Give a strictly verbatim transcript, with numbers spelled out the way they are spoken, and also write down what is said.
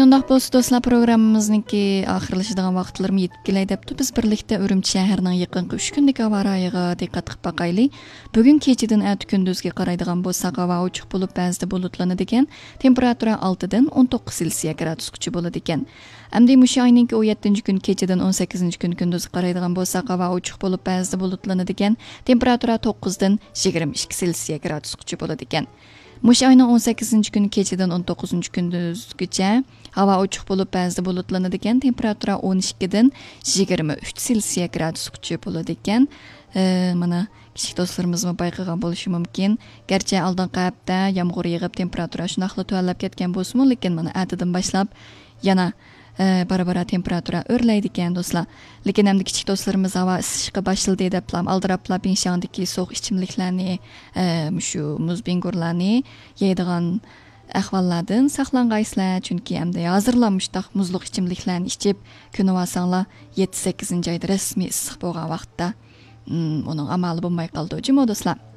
ئۇنداق بولسا دوستلار، پروگراممىمىزنىڭكى ئاخىرلىشىدىغان ۋاقىتلىرىمۇ يېتىپ كېلەي دەپتۇ. بىز بىرلىكتە ئۈرۈمچى شەھىرىنىڭ يېقىنقى ئۈچ كۈندىكى ھاۋا رايىغا دىققەت قىلىپ باقايلى. بۈگۈن كېچىدىن ئەتە كۈندۈزگە قارايدىغان بولساق، ھاۋا ئوچۇق بولۇپ، بەزىدە بۇلۇتلىنىدىكەن. تېمپېراتۇرا ئالتىدىن ئون توققۇز سېلسىيە گرادۇسقىچە بولىدىكەن. ئەمدى مۇشۇ ئاينىڭكى ئون يەتتىنچى كۈنى كېچىدىن ئون سەككىزىنچى كۈنى كۈندۈزگە قارايدىغان بولساق، ھاۋا ئوچۇق بولۇپ، بەزىدە بۇلۇتلىنىدىكەن. تېمپېراتۇرا توققۇزدىن يىگىرمە ئىككى سېلسىيە گرادۇسقىچە بولىدىكەن. مۇشۇ ئاينىڭ ئون سەككىزىنچى كۈنى كېچىدىن ئون توققۇزىنچى كۈندۈزگىچە ھاۋا ئوچۇق بولۇپ، بەزىدە بۇلۇتلىنىدىكەن. تېمپېراتۇرا ئون ئىككىدىن يىگىرمە ئۈچ سېلسىيە گرادۇسقىچە بولىدىكەن. ئە، مانا، كىچىك دوستلىرىمىزمۇ بايقىغان بولۇشى مۇمكىن. گەرچە ئالدىنقى ھەپتە يامغۇر يېغىپ، تېمپېراتۇرا شۇنداقلا تۆۋەنلەپ كەتكەن بولسىمۇ، لېكىن مانا ئەتىدىن باشلاپ يەنە، ئە، بارا-بارا تېمپېراتۇرا ئۆرلەيدىكەن، دوستلار. لېكىن ئەمدى كىچىك دوستلىرىمىز ھاۋا ئىسسىشقا باشلىدى دەپلا، ئالدىراپلا بىڭشياڭدىكى سوغۇق ئىچىملىكلەرنى، ئە، مۇشۇ مۇز بىڭگۇرلارنى يەيدىغان ئەھۋاللاردىن ساقلانغايسىلەر، چۈنكى ئەمدى ھازىرلا مۇشتاق مۇزلۇق ئىچىملىكلەرنى ئىچىپ، كۆنۈۋالساڭلار، يەتتە سەككىزىنچى ئايدا رەسمىي ئىسسىق بولغان ۋاقىتتا، ئىم، ئۇنىڭ ئامالى بولماي قالىدۇ جۇمۇ دوستلار.